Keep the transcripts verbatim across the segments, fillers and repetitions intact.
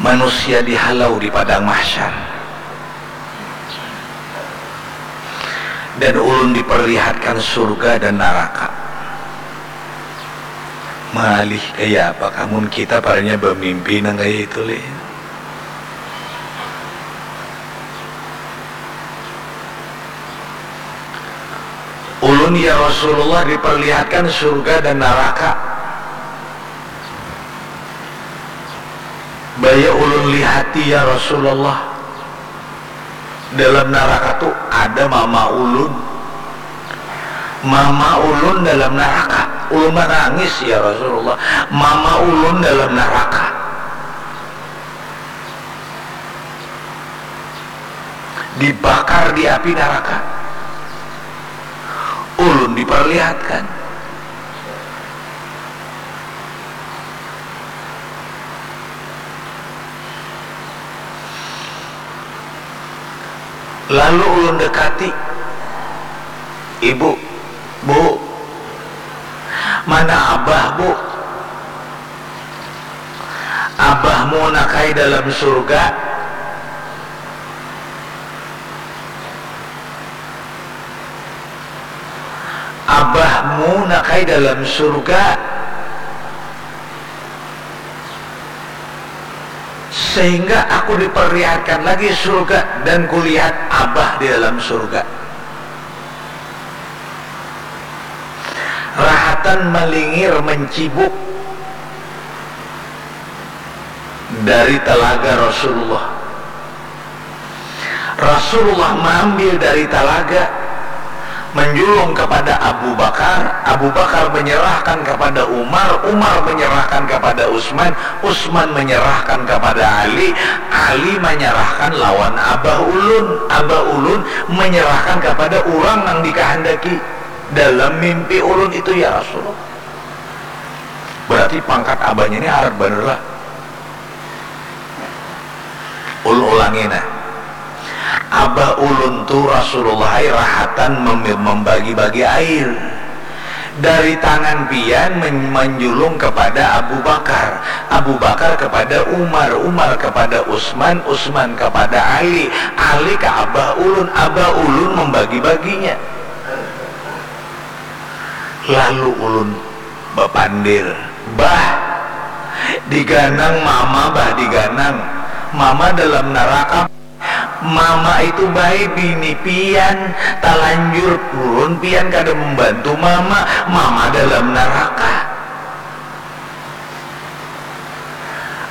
Manusia dihalau di padang mahsyar, dan ulun diperlihatkan surga dan naraka. Malih kaya apa kamun kita paranya bamimpi nang kaya itu lih. Ulun ya Rasulullah diperlihatkan surga dan naraka. Baya ulun lihati ya Rasulullah, dalam naraka tu ada mama ulun. Mama ulun dalam naraka. Ulun manangis ya Rasulullah. Mama ulun dalam naraka. Dibakar di api naraka. Ulun diperlihatkan. Lalu ulun dekati, "Ibu, Bu, mana abah, Bu?" "Abahmu nakai dalam surga." "Abahmu nakai dalam surga." Sehingga aku diperlihatkan lagi surga dan kulihat abah di dalam surga. Rahatan malingir mencibuk dari telaga Rasulullah. Rasulullah maambil dari talaga, manjulung kapada Abu Bakar, Abu Bakar manyarahkan kapada Umar, Umar manyarahkan kapada Usman, Usman manyarahkan kapada Ali, Ali manyarahkan lawan abah ulun, abah ulun manyarahkan kapada urang nang dikahandaki dalam mimpi ulun itu, ya Rasulullah. Berarti pangkat abahnya ni harat banar lah. Ulun ulangi nah. Abah ulun tu Rasulullah ai rahatan mem-, membagi-bagi air. Dari tangan pian men-, manjulung kepada Abu Bakar, Abu Bakar kepada Umar, Umar kepada Usman, Usman kepada Ali, Ali ke abah ulun, abah ulun membagi-baginya. Lalu ulun bapandir, "Bah, diganang mama, bah, diganang. Mama dalam naraka. Mama itu bae bini pian, talanjur purun pian kada membantu mama, mama dalam naraka.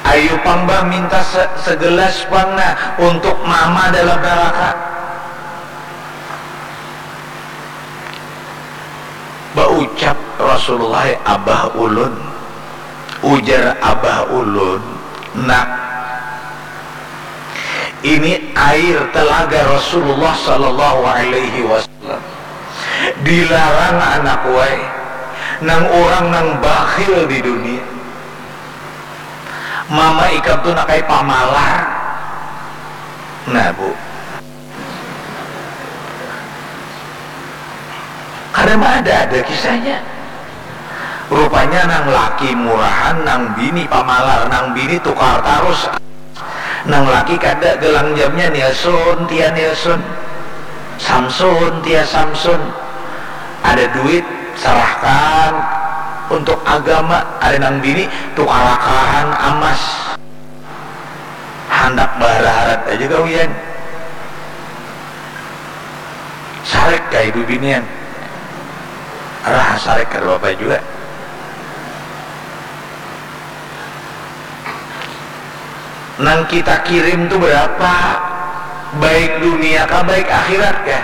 Ayu pang, bah, minta se-, segelas pang nah untuk mama dalam naraka." Baucap Rasulullah, "Abah ulun," ujar abah ulun, "Nak, ini air telaga Rasulullah sallallahu alaihi wasallam. Dilarang anak wai, nang urang nang bakhil di dunia. Mama ikam tu nakai pamalar." Nah, Bu. Kada ada-ada kisahnya. Rupanya nang laki murahan, nang bini pamalar, nang bini tukar tarus. Nang laki kada, gelang jamnya Nilson, tia Nilson. Samson, tia Samson. Ada duit, serahkan untuk agama. Ada nang bini, tukarakan amas. Handak baharat-harat aja gawian. Sarek kah ibu binian? Raha sarek kada apa jua. Nang kita kirim tu berapa? Baik dunia kah, baik akhirat kah?